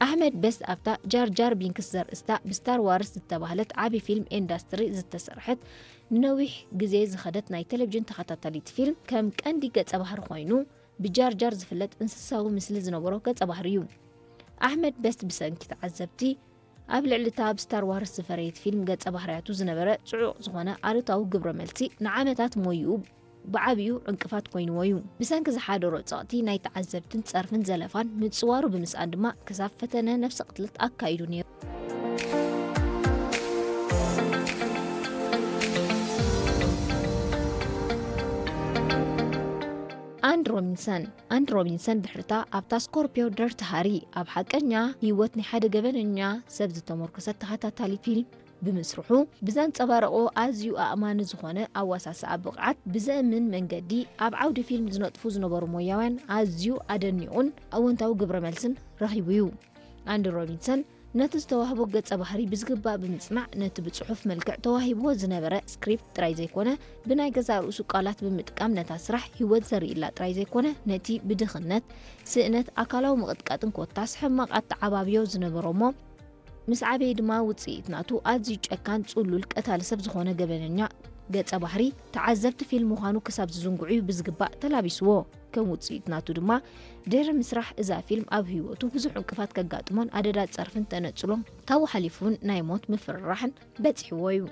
ኣሕመድ በስት ኣብታ ጃር ጃር ቢንክስ ዘርእስታ ብስታር ዋርስ ዝተባህለት ዓቢ ፊልም ኢንዳስትሪ ዝተሰርሐት ንነዊሕ ግዜ ዝኸደት ናይ ቴሌቪዥን ተኸታታሊት ፊልም ከም ቀንዲ ገጸ ባህሪ ኮይኑ ብጃር ጃር ዝፍለጥ እንስሳዊ ምስሊ ዝነበሮ ገጸ ባህሪ እዩ። ኣሕመድ በስት ብሰንኪ ተዓዘብቲ ኣብ ልዕሊ እታ ኣብ ስታር ዋርስ ዝፈረየት ፊልም ገጸ ባህርያቱ ዝነበረ ጽዑቕ ዝኾነ ኣሉታዊ ግብረ መልሲ ንዓመታት ሞይኡ ብዓቢኡ ዕንቅፋት ኮይንዎ እዩ። ብሰንኪ ዝሓደሮ ጸቕቲ ናይ ተዓዘብትን ጸርፍን ዘለፋን ምጽዋሩ ብምስኣን ድማ ክሳብ ፈተነ ነፍሲ ቅትለት ኣካይዱ ነይሩ። ኣንድ ሮቢንሰን ኣንድ ሮቢንሰን ድሕርታ ኣብታ ስኮርፒዮ ደርት ሃሪ ኣብ ሓቀኛ ህይወት ናይ ሓደ ገበነኛ ሰብ ዝተመርኮሰት ተኸታታሊ ፊልም ብምስርሑ ብዘንጸባረቆ ኣዝዩ ኣእማኒ ዝኾነ ኣዋሳስኣ ብቕዓት ብዘእምን መንገዲ ኣብ ዓውዲ ፊልም ዝነጥፉ ዝነበሩ ሞያውያን ኣዝዩ ኣደኒቑን ኣወንታዊ ግብረ መልስን ረኺቡ እዩ። ኣንዲ ሮቢንሰን ነቲ ዝተዋህቦ ገጸ ባህሪ ብዝግባእ ብምጽናዕ ነቲ ብጽሑፍ መልክዕ ተዋሂብዎ ዝነበረ ስክሪፕት ጥራይ ዘይኮነ ብናይ ገዛእ ርእሱ ቃላት ብምጥቃም ነታ ስራሕ ህይወት ዘርእላ ጥራይ ዘይኮነ ነቲ ብድኽነት፣ ስእነት፣ ኣካላዊ ምቕጥቃጥን ኮታስ ሕማቕ ኣተዓባብዮ ዝነበሮ እሞ ምስ ዓበየ ድማ ውጽኢት ናቱ ኣዝዩ ጨካን ጽሉል ቀታሊ ሰብ ዝኾነ ገበነኛ ገጸ ባህሪ ተዓዘብቲ ፊልም ምዃኑ ክሳብ ዝዝንግዑ እዩ ብዝግባእ ተላቢስዎ። ከም ውጽኢት ናቱ ድማ ድሕሪ ምስራሕ እዛ ፊልም ኣብ ህይወቱ ብዙሕ ዕንቅፋት ከጋጥሞን ኣደዳ ጸርፍን ተነጽሎን ካብኡ ሓሊፉ እውን ናይ ሞት ምፍርራሕን በጺሕዎ እዩ።